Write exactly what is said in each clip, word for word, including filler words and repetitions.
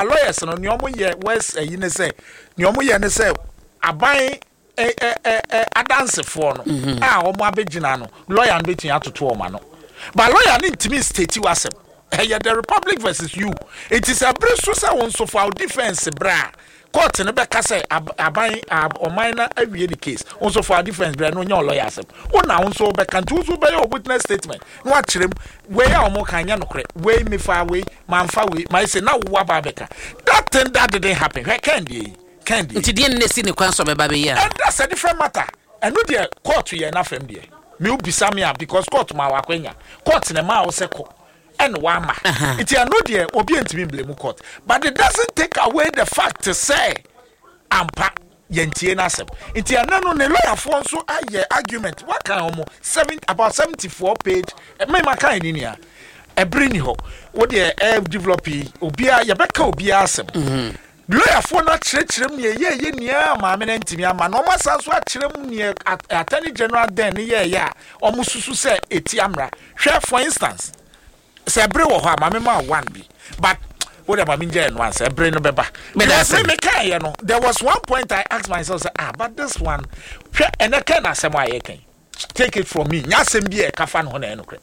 Lawyers no, nea ɔmo yɛ west ɛyi ne sɛ, nea ɔmo yɛ ne sɛ aban ɛ ɛ ɛ ɛ adansefoɔ no a ɔmo abɛgyina no, lawyer no bɛtumi atoto ɔmo ano, but lawyer no ntumi state w'asɛm. Ɛyɛ the Republic versus you. Eti sɛ abere so sɛ wɔn nso fa wo defence bra a, court no bɛka sɛ ab- aban ab- ɔman na awie ne case, wɔn nso fa wo defence bra no, nyɛ ɔlawyer asɛm wɔn na wɔn nso bɛka. Nti wɔn nso bɛyɛ o witness statement na wakyerɛ mu, wei a wɔn ka nyɛ nokorɛ, wei mefa, wei manfa, wei maa sɛ na wo aba abɛka. That thing that didn't happen. Hwɛ, Ken deɛ yi, Ken deɛ yi. Nti deɛ ne si ne kwan so ɔbɛba bɛyi a? And that's a different matter. Ɛno deɛ, court yɛ n'afɛm deɛ mi o bisa mi a, because court ma wa akɔnya, court na ma a wɔsɛ kɔ ɛna wama. Uh-huh. Nti ɛno deɛ, obi ntumi blame court, but it doesn't take away the fact sɛ ampa yɛntie n'asɛm. Nti ɛno no, ne lawyerfoɔ nso ayɛ argument waka wɔn seven about seventy four page. Mɛma kan ni nia ɛbere ni hɔ wo deɛ ɛ develop yi, obiara yɛbɛka obiara asɛm. Lawyerfoɔ no akyerɛkyerɛ mu nea ɛyɛ nea maame no ntumi ama na ɔmo asan so akyerɛ mu nea at- attorney general den ne yɛɛyɛ a ɔmo susu sɛ eti amra. Hwɛ, for instance, sɛ ɛbere wɔ hɔ a, maame ma one bi, but wo de maame ngye ɛno ansa ɛbere no bɛba. Meda because ase. me me kan yɛ no, there was one point I asked myself say, "Ah, but this one, hwɛ, ɛnɛ kɛn na asɛm a yɛ kɛn, take it from me, nya asɛm bi a ɛka fa ne ho na ɛyɛ nokorɛ."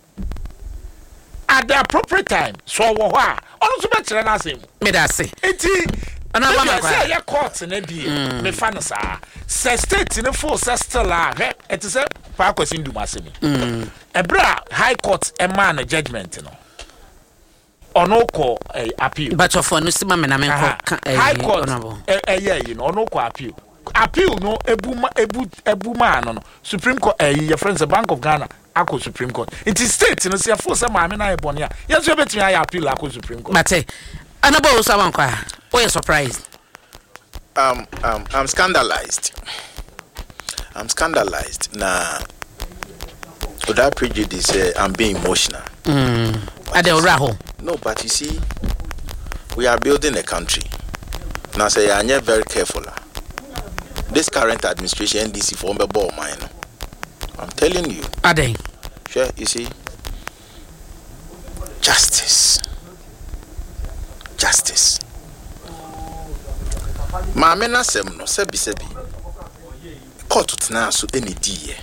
At the appropriate time so, ɔwɔ hɔ a, ɔno nso bɛkyerɛ n'asɛm mu. Meda ase. Nti Ɔno ama ebi ma sɛ kwan. Ɛyɛ court ne deɛ mefa no saa sɛ state ne fo sɛ still a, hwɛ, ɛte sɛ Paa Kwasi Ndum asɛm yi. Ɛberɛ a High Court ɛmaa no judgement no, ɔno kɔ ɛɛ appeal. Batɔfoɔ no si ma me na menkɔ Aha. ka ɛyi. High Court Honorable. ɛ- ɛyɛ yi no, ɔno kɔ appeal. Appeal no ebu ma ebu ebu maa no no Supreme Court, ɛyi yɛfrɛ no sɛ Bank of Ghana akɔ Supreme Court. Nti state no sɛ yɛfo sɛ maame no ayɛ bɔne a, yɛn nso yɛbɛtumi ayɛ appeal akɔ Supreme Court. Mate. Honorable Owusu Amankwa, woyɛ surprised? um, um, I'm scandalized. I'm scandalized. Now, without prejudice, uh, I'm being emotional. Ade owura hɔ. No, but you see, we are building a country. Now, say, I'm not very careful, ah. This current administration, N D C, for ball mine. I'm telling you. Ade. Sure, you see, justice. Justice. Maame n'asɛm no, sɛbi sɛbi, court tena so ɛna diiɛ.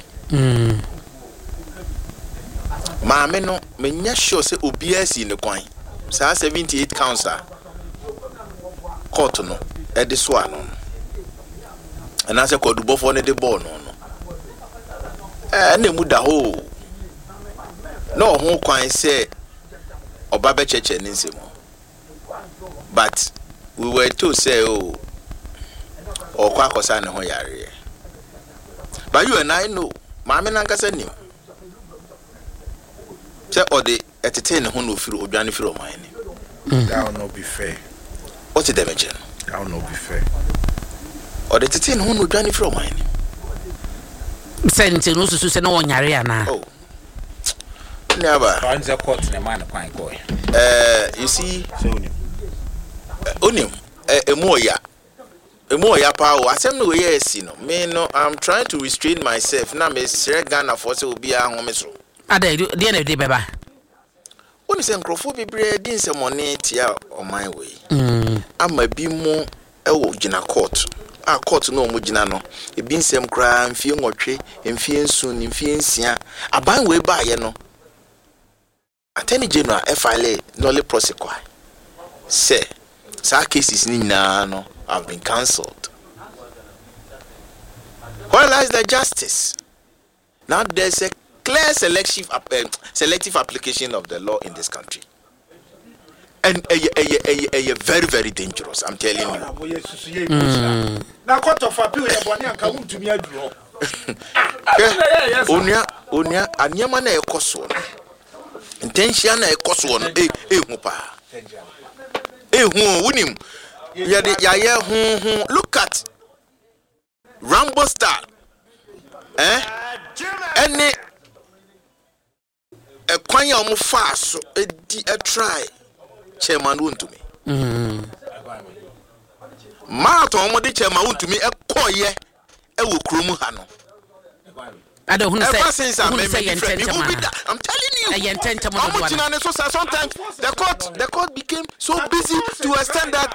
Maame no, menya sure sɛ obiara si ne kwan. Saa seventy eight counts a court no ɛde so ano no, anaasɛ kɔdubɔfoɔ no de bɔɔl no no, ɛɛ ɛna emu da hɔ o. Na ɔho kwan sɛ ɔba bɛkyɛkyɛ ne nsam, but we were told sɛ o ɔkɔ akɔsa ne ho yareɛ. But you and I know, maame nankasa nim sɛ ɔde ɛtete ne ho na ofiri odwane firi ɔman ne. That will not be fair. Ɔte dɛm kyerɛ no. That will not be fair. Ɔde tete ne ho na odwane firi ɔman ne. Sɛ nti no wosusu sɛ na wɔnyare anaa? Oh, nnuaba. Ɔn sɛ court na ɛmaa ne kwan kɔɛ. ɛɛ you see, Sɛ onim. Onim ɛ emu ɔya, emu ɔya paa o. Asɛm no wɔyɛ esi no, me no, I'm trying to restrain myself na mesrɛ Ghanafoɔ sɛ obiara home so. Ade deɛ na ɛde bɛba. Wone sɛ nkurɔfoɔ bebree di nsɛmɔne tia ɔman wei ama bi mu ɛwɔ gyina court a, court no a ɔmo gyina no, ebi nsɛm koraa mfie nwɔtwe, mfie nson, mfie nsia. Aban wei baayɛ no, Attorney General ɛfile nolle prosequi sɛ saa cases ne nyinaa no have been cancelled. Where lies the justice now? There's a clear selective uh, selective application of the law in this country, and ɛyɛ ɛyɛ ɛyɛ ɛyɛ very very dangerous, I'm telling you. Na Court of Appeal yɛ bɔne anka wontumi aduru hɔ. Hwɛ, onua, onua, nneɛma na ɛkɔ soɔ no, ntɛnhyia na ɛkɔ soɔ no, e ehu paa, ehu o. Wunim yɛde yɛayɛ huhu. Look at Rambo style, eh, ɛne ɛkwan a wɔn faa so edi ɛtry Chairman Wontumi marathon, wɔn de Chairman Wontumi ɛkɔɔyɛ ɛwɔ kurom ha no. Ada ohunu sɛ Ever since I ohunu made sɛ yɛ different ntɛntɛm me ana da, I'm telling you, ɛyɛ ntɛntɛm ɔmo dodo gyina ana ne so sa. Sometimes the court the court became so busy to extend that.